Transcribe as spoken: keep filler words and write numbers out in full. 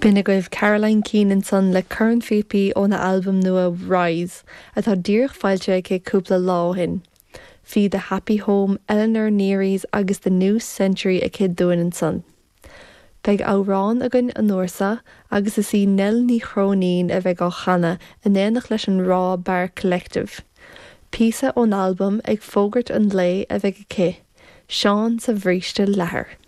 B'in agaibh Caroline Keane ansan le Cornphíopaí óna albam nua Rise atá díreach foilsithe aici cúpla lá ó shin. Bhí The Happy Home, Eleanor Nearies agus The New Century aici dúinn ansan. Beidh amhrán againn an uair seo agus is í Nell Ní Chróinín a bheidh á chanadh in éineacht leis an Raw Bar Collective. Píosa ón albam ag fógairt an lae a bheidh aici, Seán sa bhríste leathair.